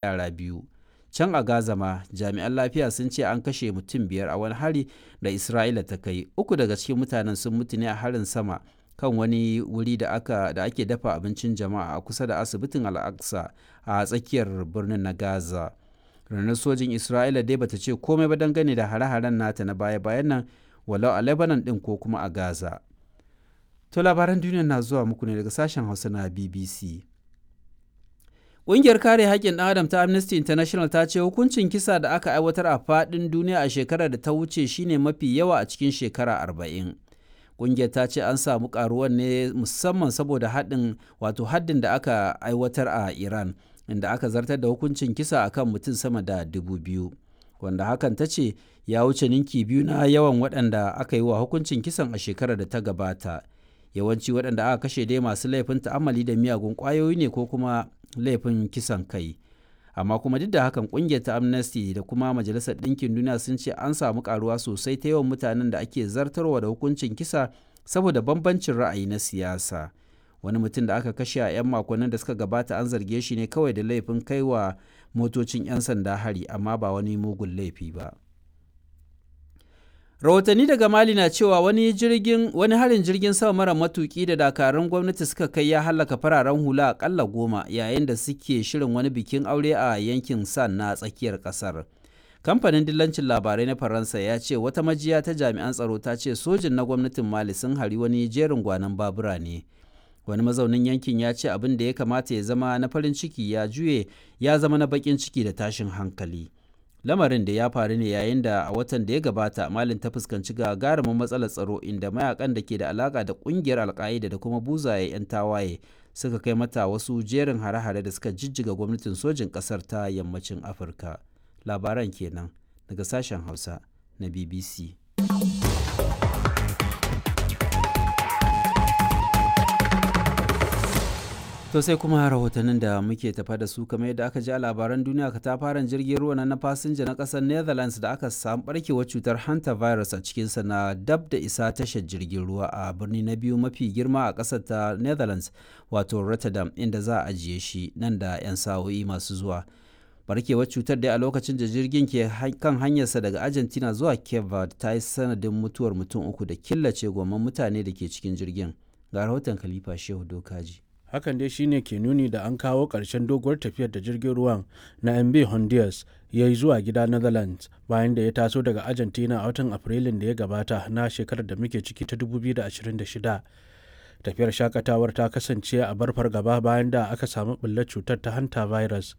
Yara biyu. Can a Gaza ma, jami'an lafiya sun ce an kashe mutum biyar a wani hari da Isra'ila ta kai, uku daga cikin mutanen sun mutu ne a harin sama kan wani wuri da ake dafa abincin jama'a a kusa da asibitin Al-Aqsa a tsakiyar birnin na Gaza. Rundunar Sojin Isra'ila dai bata ce komai ba dangane da hare-haren nata na baya-bayan nan, walau a Lebanon ɗin ko kuma a Gaza. To labaran duniya na zuwa muku ne daga sashen Hausa na BBC. Ƙungiyar kare haƙƙin ɗan adam ta Amnesty International ta ce hukuncin kisa da aka aiwatar a faɗin duniya a shekarar da ta wuce shine mafi yawa a cikin shekara 40. Ƙungiyar ta ce an samu ƙaruwar ne musamman saboda haɗin wato haddin da aka aiwatar a Iran, inda aka zartar da hukuncin kisa akan mutum sama da 2,000. Wanda hakan ta ce ya wuce ninki biyu na yawan waɗanda aka yi wa hukuncin kisan a shekarar da ta gabata. Yawanci waɗanda aka kashe dai masu laifin ta'ammali da miyagun ƙwayoyi ne ko kuma laifin kisan kai. Amma kuma duk da hakan, ƙungiyar ta Amnesty da kuma Majalisar Ɗinkin Duniya sun ce an samu ƙaruwa sosai ta yawan mutanen da ake zartarwa da hukuncin kisa saboda bambancin ra'ayi na siyasa. Wani mutum da aka kashe a 'yan makonnin da suka gabata an zarge shi ne kawai da laifin kaiwa motocin 'yan sanda hari, amma ba wani mugun laifi ba. Rahotanni daga Mali na cewa wani harin jirgin sama mara matuki da dakarun gwamnati suka kai ya hallaka fararen hula akalla 10 yayin da suke shirin wani bikin aure a yankin San na tsakiyar kasar. Kamfanin dillancin labarai na Faransa ya ce wata majiya ta jami'an tsaro ta ce sojin na gwamnatin Mali sun hari wani jerin gwanon babura ne. Wani mazaunin yankin ya ce abin da ya kamata ya zama na farin ciki ya juye ya zama na bakin ciki da tashin hankali. Lamarin da ya faru ne yayin da a watan da ya gabata Malin ta fuskanci gagarumin matsalar tsaro, inda mayakan da ke da alaka da kungiyar Alka'ida da kuma buzaye 'yan tawaye suka kai mata wasu jerin hare-hare da suka jijjiga gwamnatin sojin kasar ta yammacin Afirka. Labaran kenan daga sashen Hausa na BBC. To sai kuma rahotannin da muke tafa da su. Kamar yadda aka ji a labaran duniya, katafaren jirgin ruwa na fasinja na kasar Netherlands da aka samu barkewar cutar hanta virus a cikinsa na dab da isa tashar jirgin ruwa a birni na biyu mafi girma a kasar ta Netherlands, wato Rotterdam, inda za a ajiye shi nan da 'yan sa'o'i masu zuwa. Barkewar cutar dai a lokacin da jirgin ke kan hanyarsa daga Argentina zuwa Cape Verde ta yi sanadin mutuwar mutum uku da killace gomman mutane da ke cikin jirgin. Ga rahoton Khalifa Shehu Dokaji. Hakan dai shine ke nuni da an kawo ƙarshen doguwar tafiyar da jirgin ruwan na MB Honduras ya yi zuwa gida Netherlands bayan da ya taso daga Argentina a watan Afrilun da ya gabata na shekarar da muke ciki ta 2026. Tafiyar shakatawar ta kasance a bar fargaba bayan da aka samu ɓullar cutar ta hanta virus.